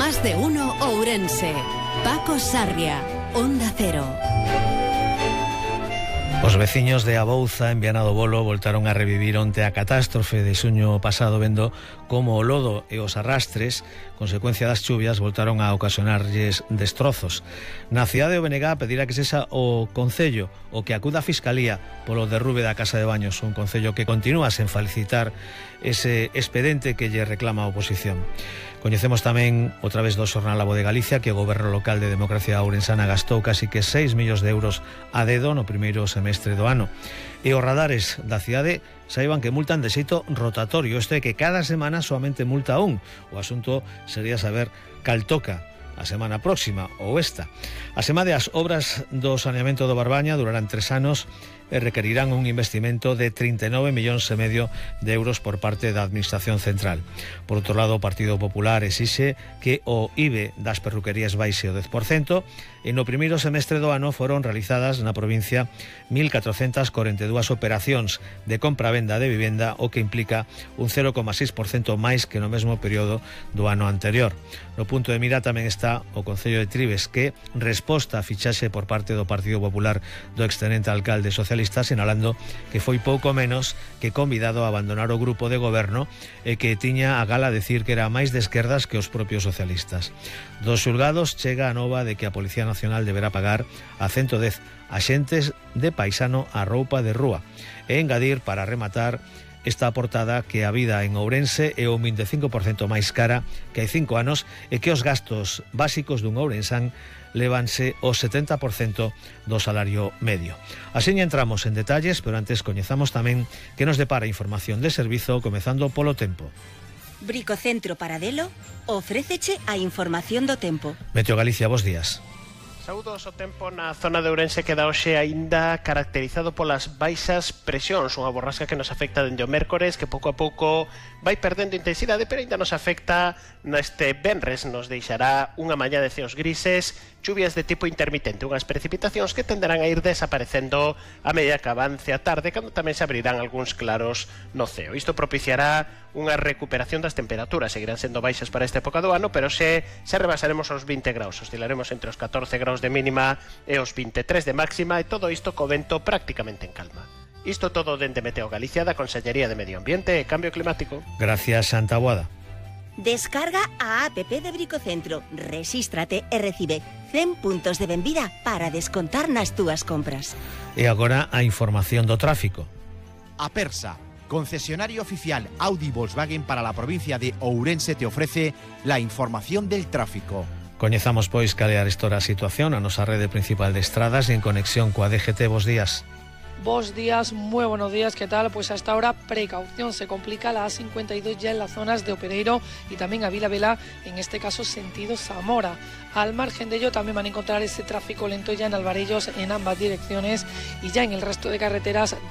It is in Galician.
Más de uno Ourense. Paco Sarria, Onda Cero. Os veciños de Abouza, en Viana do Bolo, voltaron a revivir onte a catástrofe de xuño pasado, vendo como o lodo e os arrastres, consecuencia das chuvias, voltaron a ocasionarlles destrozos. Na cidade de Benegá pedirá que sexa o Concello o que acuda a Fiscalía polo derrube da Casa de Baños, un Concello que continúa sen felicitar ese expediente que lle reclama a oposición. Coñecemos tamén, outra vez do xornal A Voz de Galicia, que o Goberno Local de Democracia Ourensana gastou casi que 6 millóns de euros a dedo no primeiro semestre do ano. E os radares da cidade saiban que multan de xeito rotatorio, isto é que cada semana soamente multa un. O asunto sería saber cal toca a semana próxima ou esta. Asemade, as obras do saneamento do Barbaña durarán 3 anos e requerirán un investimento de 39,5 millóns de euros por parte da Administración Central. Por outro lado, o Partido Popular exixe que o IBE das perruquerías baixe o 10%, e no primeiro semestre do ano foron realizadas na provincia 1.442 operacións de compra-venda de vivenda, o que implica un 0,6% máis que no mesmo período do ano anterior. No punto de mira tamén está o Concello de Trives, que resposta a fichaxe por parte do Partido Popular do excelente alcalde socialista, sinalando que foi pouco menos que convidado a abandonar o grupo de goberno e que tiña a gala decir que era máis de esquerdas que os propios socialistas. Dos xulgados chega a nova de que a Policía Nacional deberá pagar a 110 axentes de paisano a roupa de rúa, e engadir, para rematar esta portada, que a vida en Ourense é un 25% máis cara que hai 5 anos e que os gastos básicos dun ourensán levanse o 70% do salario medio. Así entramos en detalles, pero antes coñezamos tamén que nos depara información de servizo, comezando polo tempo. Bricocentro Paradelo ofréceche a información do tempo. Meteo Galicia, bos días. Saúdos. O tempo na zona de Ourense queda hoxe aínda caracterizado polas baixas presións, unha borrasca que nos afecta dende o mércores, que pouco a pouco vai perdendo intensidade, pero aínda nos afecta neste venres. Nos deixará unha mañá de ceos grises, chuvias de tipo intermitente, unhas precipitacións que tenderán a ir desaparecendo a medida que avance a tarde, cando tamén se abrirán algúns claros no ceo. Isto propiciará unha recuperación das temperaturas. Seguirán sendo baixas para esta época do ano, pero se rebasaremos os 20 graus, oscilaremos entre os 14 graus de mínima e os 23 de máxima, e todo isto co vento prácticamente en calma. Isto todo dende Meteo Galicia, da Consellería de Medio Ambiente e Cambio Climático. Gracias, Santa Boada. Descarga a app de Bricocentro, rexístrate e recibe 100 puntos de benvida para descontar nas túas compras. E agora a información do tráfico. Apersa, concesionario oficial Audi Volkswagen para la provincia de Ourense, te ofrece la información del tráfico. Coñezamos, pois, cal é a situación a nosa rede principal de estradas e en conexión coa DGT. Bos días. Buenos días, muy buenos días, ¿qué tal? Pues hasta ahora precaución, se complica la A52 ya en las zonas de Opereiro y también a Vila Vela, en este caso sentido Zamora. Al margen de ello también van a encontrar ese tráfico lento ya en Alvarellos en ambas direcciones, y ya en el resto de carreteras